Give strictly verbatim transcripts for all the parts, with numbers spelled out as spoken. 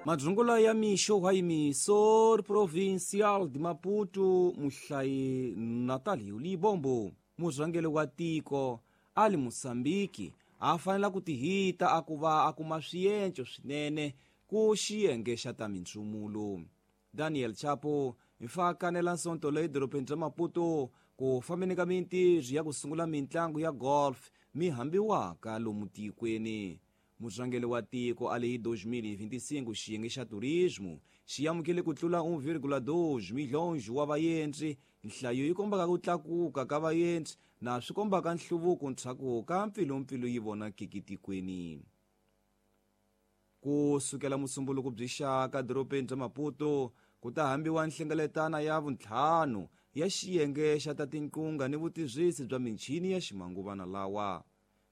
Madzungula ya mixo wa Emissor Provincial de Maputo muhlayi Natalio Libombo murhangeri wa tiko ali Moçambique a fanela ku tihita a ku va a kuma swienco swinene ku xiyenge xa ta mintsumulo. Daniel Chapo hi kanela nsonto leyi dorobeni bya Maputo ku fambeni ka mintirho ya ku sungula mintlangu ya golf mi hambiwaka lomu tikweni. Murhangeri wa tiko ali hi dois mil e vinte e cinco xiyenge xa turismo xi amukele ku tlula um vírgula dois milhões wa vaendzi, nhlayo yi kombaka ku tlakuka ka vaendzi na swi kombaka nhluvuko ndzhaku ka mpfilumpfilu yi vonakiki tikweni. Ku sukela musumbuluko byi xaka dorobeni bya Maputo ku ta hambiwa nhlengeletano ya vuntlhanu ya xiyenge xa ta tinqunga ni vutirhisi bya michini ya ximanguvana lawa.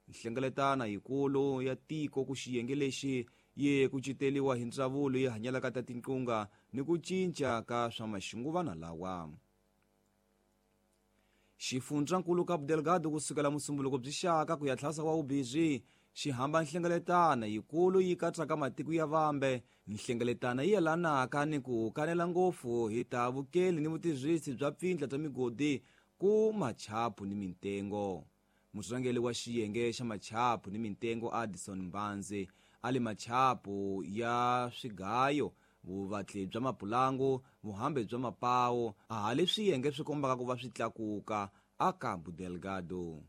Nhlengeletano yikulu ya tiko ku xiyenge lexi yi kuceteriwa hi ndzawulo yi hanyelaka ta tinqunga ni ku cinca ka swa maxinguvana lawa. Xifundzankulu Cabo Delgado ku sukela musumbuluko byi xaka ku ya tlhasa wa ubizwi xi hamba nhlengeletano yikulu yi katsaka matiko ya vambe. Nhlengeletano yi yelanaka ni ku kanela ngopfu hi ta vukeli ni vutirhisi bya pfindla bya migodi ku machapu ni mintengo. Murhangeri wa xiyenge xa machapu ni mintengo Addison Mbanzi ali machapu ya swigayo, vuvatli bya mapulangu, vuhambi bya mapawu a hali swiyenge swi kombaka ku va swi tlakuka a Cabo Delgado.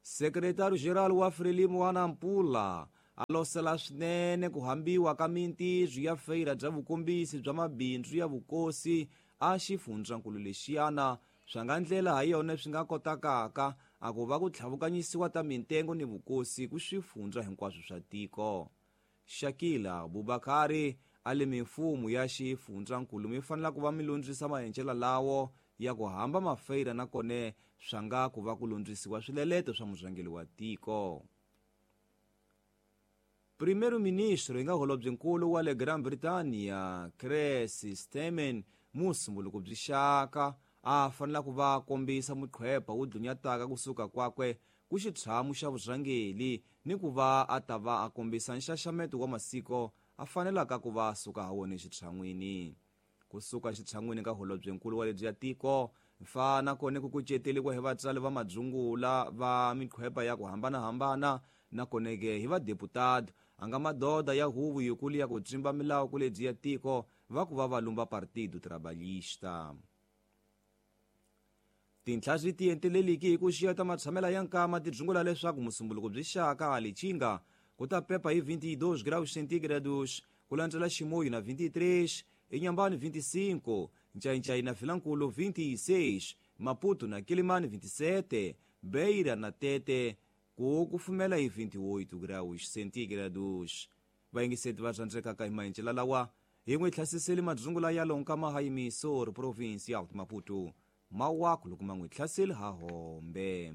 Secretary General wa Frelimo wa Nampula a losela swinene ku hambiwa ka mintirho ya feira bya vukombisi bya mabindzu ya vukosi a xifundzankulu lexiyana swa nga ndlela ha yona swi nga kotakaka a ku va ku tlhavukanyisiwa ta mintengo ni vukosi ku swifundza hinkwaswo swa tiko. Shakila Abubakari ali mimfumo ya xifundzankulu mi fanela ku va mi lundzisa maendlelo lawo ya ku hamba mafeira na kone swa nga ku va ku lundzisiwa swileleto swa murhangeri wa tiko. Primeiro-ministro yi nga holobyenkulu wa le Gran Britania Chris Stemen musumbuluko byi xaka a fanela ku va kombisa muqhwepa wu dlunyataka kusuka kwakwe ku xitshamu xa vurhangeri ni ku va a ta va a kombisa nxaxameto wa masiko a fanelaka ku va suka ha wona exitshan'wini. Kusuka xitshan'wini ka holobyenkulu wa lebyi ya tiko mfana kone ku kuceteriwa hi vatswari va madzungula va miqhwepa ya ku hambanahambana na koneke hi vadeputado a nga madoda ya huvo yikulu ya ku tsimba milawu ku lebyi ya tiko va ku va va lumba Partido Trabalhista. Tinhla swi tienteleliki hi ku xiya ta matshamela ya nkama ti dzungula leswaku musumbuluko byi xaka a Lichinga ku ta pepa hi vinte e dois graus centígrados ku landzela Chimoio na vinte e três, Inhambane vinte e cinco, Nchainchai na Vilankulo vinte e seis, Maputo na Quelimane vinte e sete, Beira na Tete ku kufumela hi vinte e oito graus centígrados. Vayingiseti va rhandzekaka hi maendlelo lawa hi n'wi hlasiseli madzungula ya lonkama ha Emissor Provincial de Maputo. Mawaku loko ma n'wi hlaseli ha hombe.